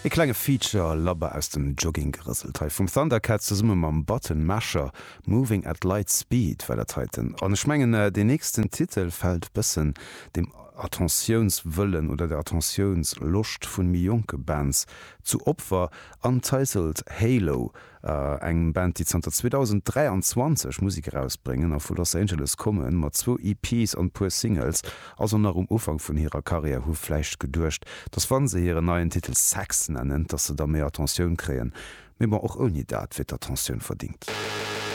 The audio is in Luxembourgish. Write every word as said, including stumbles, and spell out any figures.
E klenge Feature labber aus dem Jogging gerëselt hei vum Thundercat zesumme mam Button Masher Moving at Light Speed war dat heiten. An ech mengen äh, den nächsten Titel fält bëssen dem Attentiounswëllen oder der Attentiounsloscht vun méi jonke Bands zu Opfer Untitled Halo äh, eng Band déi zanter zweedausenddräianzwanzeg Musek erausbréngen a vu Los Angeles kommen mat zwou E Ps an puer Singles also nach um Ufank vun hirer Karriär hu vläicht geduecht dass wann se hiren neien Titel Sex nennen dass se da méi Attentioun kréien mee bon och ouni dat wier d'Attentioun verdéngt.